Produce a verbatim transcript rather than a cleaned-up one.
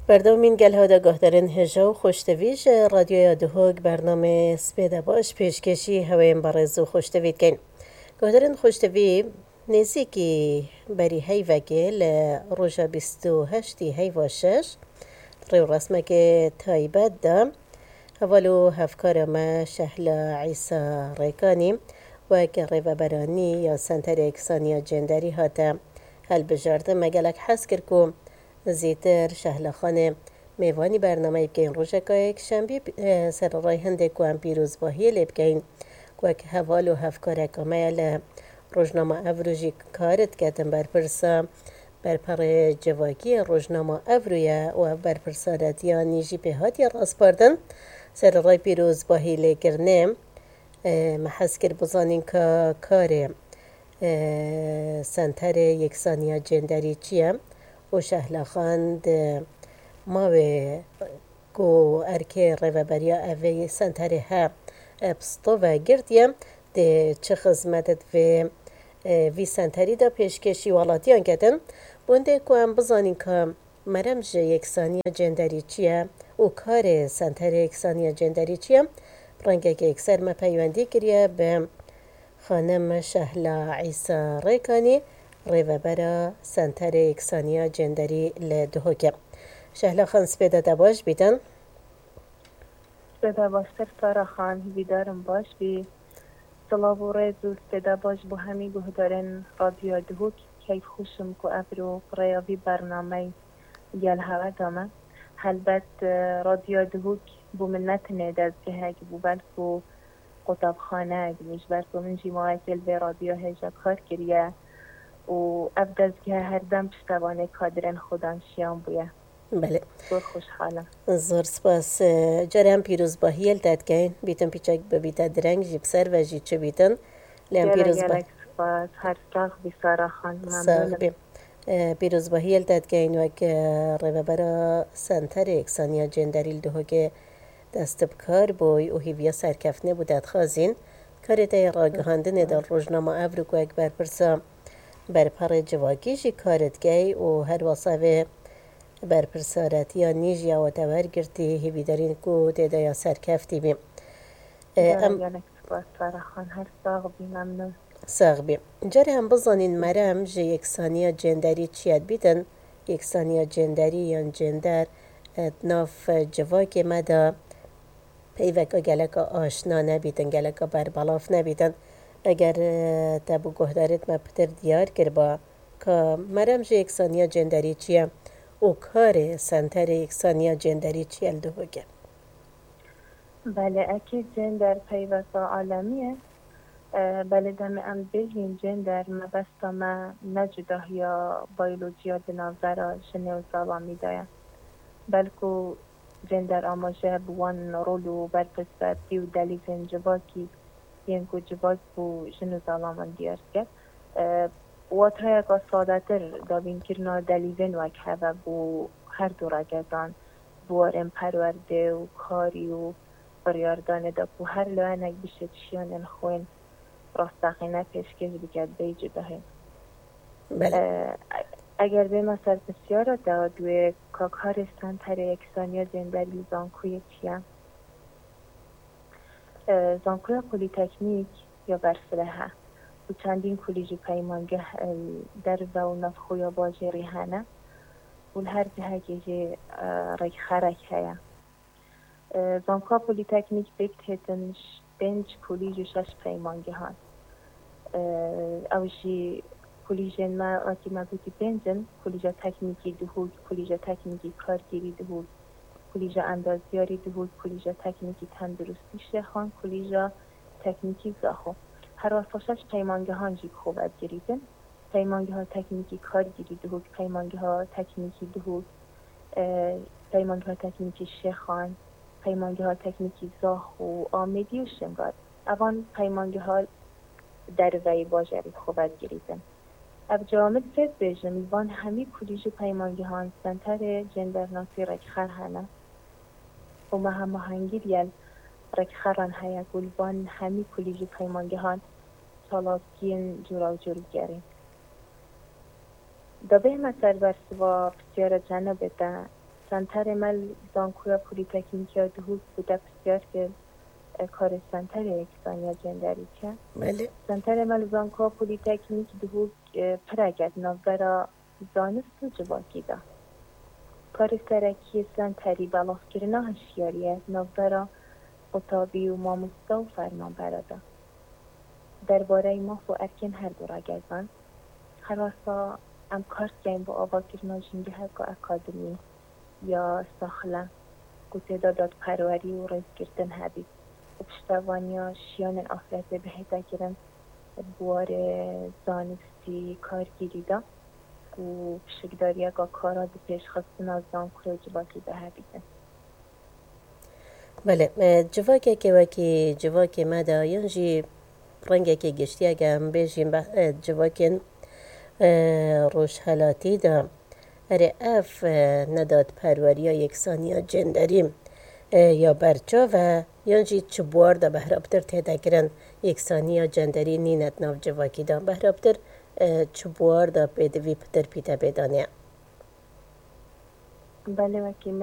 Berdewmîn gel hewda guhdarên hêja û xweştevî ji Radyoya Duhok bernamê Spêde Baş pêşkêşî hewên berêz û xweştevî dikin. Guhdarên xweştevî, nêzîkî berî heyvekê li roja bîst û heştî heyva şeş, rêwresmekê taybet de heval û hevkara me Şehla Îsa Rêkanî wek rêveberanî ya Senterê Yekisaniya Cenderî hate hilbijardin. Me gelek hez kir ku zêtir Şehla Xanê mêvanî bernameyê bikeyin. Rojeka yekşembî, e, sererayê hindê ku em pîrozbahiyê lê bikeyin, ku wek heval û hevkareka me ye li Rojnama Evro jî kar diketin berpirsa berperê civakî yê Rojnama Evro ye û ev berpirsaretiya nî jî pê hatiye raspardin. Sererayê pîrozbahî lêkirinê, e, me hez kir bizanîn ka karê, e, Senterê Yeksaniya Cenderî çi ye û Şehla Xan di mawê ku erkê rêveberiya evê senterê he, e, pisto ve girtiye, dê çi xizmet di vê, e, vî senterî de pêşkêşî welatiyan ketin. Bûndê ku em bizanîn ka merem ji yeksaniya cenderî çi ye û karê senterê yeksaniya cenderî çi ye, rengeke yekser me peywendî kiriye bi Xanim Şehla Îsa Rêkanî, rêvebera Senterê Yeksaniya Cenderî li Duhokê. Şehla Xan, spêda te baş bîtin. Spêda baştir Sara Xan, hîvîdarim baş bî. Silav û rêz û spêda baş bo hemî guhdarên Radyoya Duhok. Keyfxweş im ku evro bi rêya vî bernameyê gel hewe da me. Helbet, e, Radyoya Duhok bo min ne tenê dezgehek bû, belku qutabxanek, ji ber ku min jî mawekê li vê radyo hêja kar kiriye û ev dezgeh herdem piştevanê kadirên xwedanşiyan bûye. Belê. Zor xweşhal im. Zor spas. Carê em pîrozbahiyê li te dikeyin. Bîtin pîçek bibîte direng jî, bi ser ve jî çi bîtin. Lê em Gelek, pîrozba- gelek spas. Her sax bî Sara Xan. Sax Memnûn im. Bî. E, pîrozbahiyê li te dikeyin wek, e, rêvebera Senterê Yeksaniya Cenderî li Duhokê dest bi kar bûy û hîviya serkeftinê bû te dixwazîn. Karê te yê ragihandinê de Rojnama Evro ku wek berpirsa berperê civakî jî kar dikey û her wesa vê berpirsaretiya nî jî ya we te wergirtî, hîvîdarîn ku tê de ya serkeftî bî. E, Gelek, em gelek spas Sara Xan, her sax bî, memnûn. Sax bî. Carê em bizanîn merem ji yeksaniya cenderî çi ye dibîtin? Yeksaniya cenderî yan cender, e, di nav, e, civakê me de peyveka geleka aşna nebîtin, geleka berbelav nebîtin. Eger, e, te bi guhdarêt me pitir diyar kiriba ka merem ji yeksaniya cenderî çi ye û karê Senterê Yeksaniya Cenderî çi ye li Duhokê? Belê, ekî cender peyveka alemî ye. E, belê demê em bêjîn cender, mebesta me ne cudahiya biyolojiya di navbera jinê û zalamî de ye. Belku cender amaje bi wan rol û berpirsatî û delîzên civakî yên ku civak bo jin û zalaman diyar dike. E, wateyeka sadetir, dabînkirina delîzên wek heve bo her du regetan, bi warên perwerdê û karî û biryardanê de ku her layenek bişêt şiyanên xwên rasteqîne pêşkêş bike bêyî cudahî. Belê. E, eger bême ser pisyara te, duyê ka karê Senterê Yeksaniya Cenderî li zankoyê çi ye? E, zankoya polîteknîk ya Bersivê he û çendîn kolîj û peymangeh, e, derve û navxweya bajêrî hene û li her cihekê jî, e, rêkxerek heye. E, Zankoya Polîteknîk pêk têtin ş-, pênc kolîj û şeş peymangehan. E, ew jî kolîjên me, wekî me gotî, pênc in: Kolîja Teknîkî Duhok, Kolîja Teknîkî Kargêrî Duhok, Kolîja Endazyarî Duhok, Kolîja Teknîkî Tenduristî Şêxan, Kolîja Teknîkî Zaxo. Her wesa şeş peymangehan jî bi xwe ve digirîtin. Peymangeha Teknîkî Kargêrî Duhok, Peymangeha Teknîkî Duhok, e, Peymangeha Teknîkî Şêxan, Peymangeha Teknîkî Zaxo, Amêdî û Şingal. Evan peymangeha derveyî bajarî bi xwe ve digirîtin. Ev cewamil pê dibêjim, li van hemî kulîj û peymangehan senterê cendernasî rêkxer hene û me hemahengî li gel rêkxeran heye ku li van hemî kulîj û peymangehan çalakiyên cûrawcûr bigerîn. Da bêhme ser bersiva pisyara cenabê te, Senterê me li Zankoya Polîteknîk ya Duhok bûte pisyar kir, e, karê Senterê Yeksaniya Cenderî çi? Belê. Senterê me li Zankoya Polîteknîk Duhok, e, pirek e di navbera zanist û civakî de. Karê serekî yê Senterî belavkirina hişyariyê di navbera qutabî û mamoste û fermanbera de. Derbareyî maf û erkên her du ragezan, her wesa em kar dikeyn bo avakirina jîngeheka akademî ya saxlem ku tê de dadperwerî û rêzgirtin hebît û piştevaniya jiyanên afirezê bihête kirin di warê zanistî kargêrî de ku pişikdariyeka kara di pêşxistina zankoya civakî de hebîtin. Belê, e, civakekê wekî civakê me de yan jî rengekê giştî, eger em bêjîn be, e, civakên, e, rojhelatî de, erê, ev, e, nedadperweriya yeksaniya cenderî, e, ya berçav e, yan jî çi buwar de behraptir tête kirin yeksaniya cenderî nîne di nav civakî de? Behraptir, e, çi buwar de pêdivî pitir pîte pê danê? Belê, wekî